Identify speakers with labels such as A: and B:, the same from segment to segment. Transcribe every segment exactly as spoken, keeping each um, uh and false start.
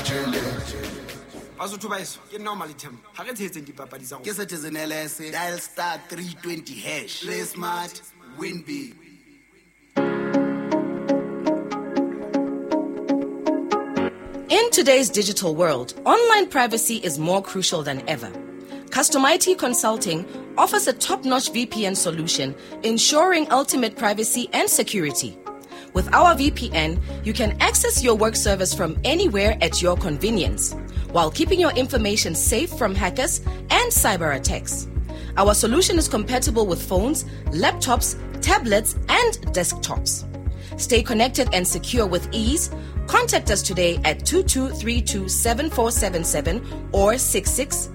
A: tjhelete.
B: Basotho ba heso, ke nna o Malethemba. Ha re tshehetseng dipapadi tsa rona.
A: Ke Citizen L S, dial star three twenty hash. Play smart, win big.
C: In today's digital world, online privacy is more crucial than ever. Custom I T Consulting offers a top-notch V P N solution, ensuring ultimate privacy and security. With our V P N, you can access your work servers from anywhere at your convenience, while keeping your information safe from hackers and cyber attacks. Our solution is compatible with phones, laptops, tablets, and desktops. Stay connected and secure with ease. Contact us today at two two three two seven four seven seven or six six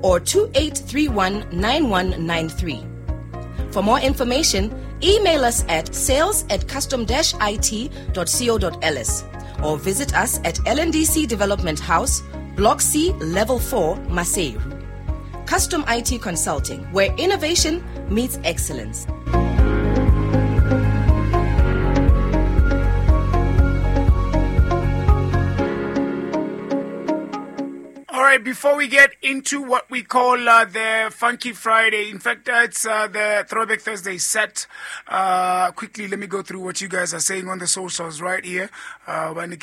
C: or two eight three one nine one nine three. For more information, email us at sales at custom dash I T dot co dot L S or visit us at L N D C Development House, Block C, Level four, Maseru. Custom I T Consulting, where innovation meets excellence.
D: All right, before we get into what we call, uh, the Funky Friday, in fact, uh, it's, uh, the Throwback Thursday set. Uh, quickly, let me go through what you guys are saying on the socials right here. Uh, uh, on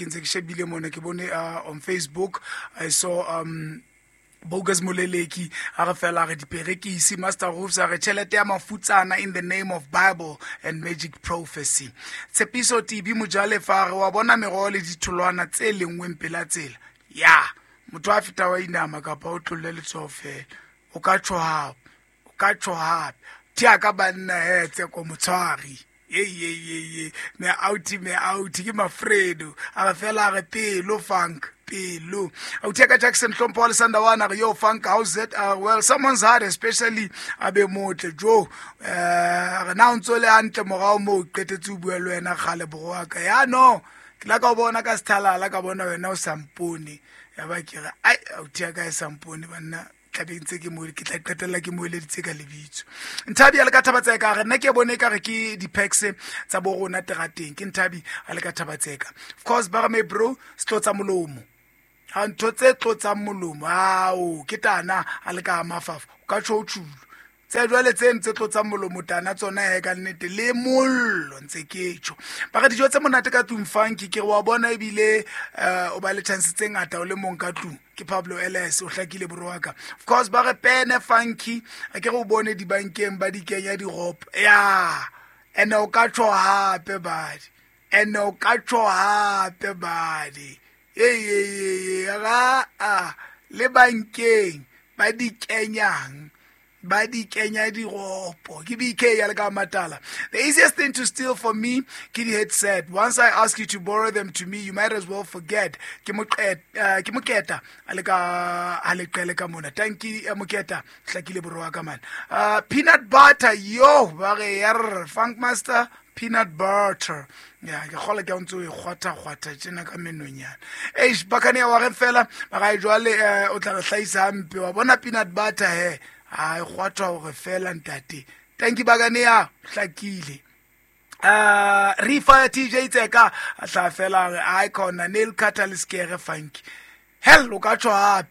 D: Facebook, I saw... Um, Bogus Moleleki, a re fela re diperekisi, Master Roofs, a re tjhelete ya mafutsana in the name of Bible and magic prophecy. Tshepiso T B Mojale fa re wa bona meroho le ditholwana tse lengweng pela tsela. Ya, motho a feta wa inama kapa o tlolle letsoho fela. O ka tjho hape, o ka tjho hape. Thea ka banna he, Tseko Motshwari. Ye, ye, ye, ye. Me auti, me auti, ke Mafredo. A re fela re pelo funk. Pelo. Auteka Jackson Hlompho wa Lesandawana re yo funk, how's it? Uh, well, someone's heart, especially abe motle Joe. Uh, re na o ntso le hantle morao moo qetetse ho bua le wena kgale borwa ka. Ya no, ke la ka o bona ka sethalala ka bona wena o sa mpone. Ya ba ke re ai auteka e sa mpone banna. Tla be ntse ke mo ke tla qetella ke mo eleditse ka lebitso. Nthabi a le ka Thabatseka re nna ke bone ka re ke di-packs tsa bo rona terateng. Ke Nthabi a le ka Thabatseka. Of course ba re me bro se tlotsa molomo. Ha ntho tse tlotsang molomo ao ke tana a le ka mafafa o ka tjho o tjhulo. Tse jwale tse ntse tlotsang molomo tana tsona he ka nnete le mollo ntse ke tjho. Ba re dijo tse monate ka tlung funky ke re wa bona ebile, eh, o ba le chance tse ngata o le mong ka tlung. Ke Pablo L S o hlakile borwa ka. Of course ba re pene funky a ke re o bone dibankeng ba di kenya diropo. Ya ene o ka tjho hape badi. Ene o ka tjho hape badi. Hey, hey, hey, hey, ra, a, le bankeng ba di kenyang, ba di kenya diropo. Ke B K ya le ka Matala. The easiest thing to steal for me ke di headset. Once I ask you to borrow them to me, you might as well forget. Ke moqet, uh, ke moketa a le ka a le qele ka mona. Thank you moketa, hlakile borwa ka man. Uh, peanut butter yo ba re yer Funk Master peanut butter. Ya ke kgola ke ntse o e kgwatha kgwatha tjena ka menonyana. Eish bakane wa re fela ba ga jwale, eh, o tla re hlahisa hampe wa bona peanut butter he. A e kgwathwa hore fela ntate. Thank you bakane ya hlakile. Uh, Refire T J Tseka a tla fela re icon nail cutter le skere funky. Hell o ka tjho hape.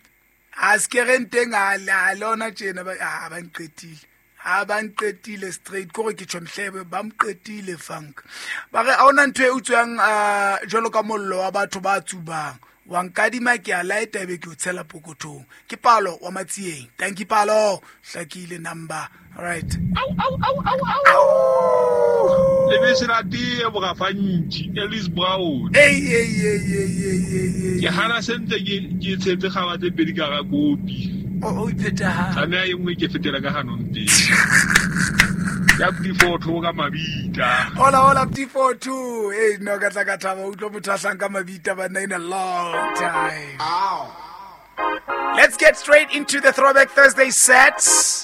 D: A skere nteng a le lona tjena ba a ba nqetile. A ba nqetile straight kore ke tjho mhlebe ba mqetile funk. Ba re ha ona ntho e utswang, uh, jwalo ka mollo wa batho ba tsubang. Wa nkadima ke a laeta ebe ke o tshela pokothong. Ke Palo wa Matsieng. Thank you Palo. Hlakile number. All right.
E: Au au au au au. Le bese la tee bogafantši Ellis Brown.
D: Hey hey hey hey hey hey.
E: Ke hana sentse ke ke tshetse gaba tse pedi ka ga kopi.
D: O o ipheta ha.
E: Tlameha e nngwe ke fetela ka hanong teng. Ya P four two ka mabita.
D: Hola hola P four two. Hey no ka tla ka thaba utlwa motho a hlang ka mabita ba nna in a long time.
A: Ow.
D: Let's get straight into the Throwback Thursday sets.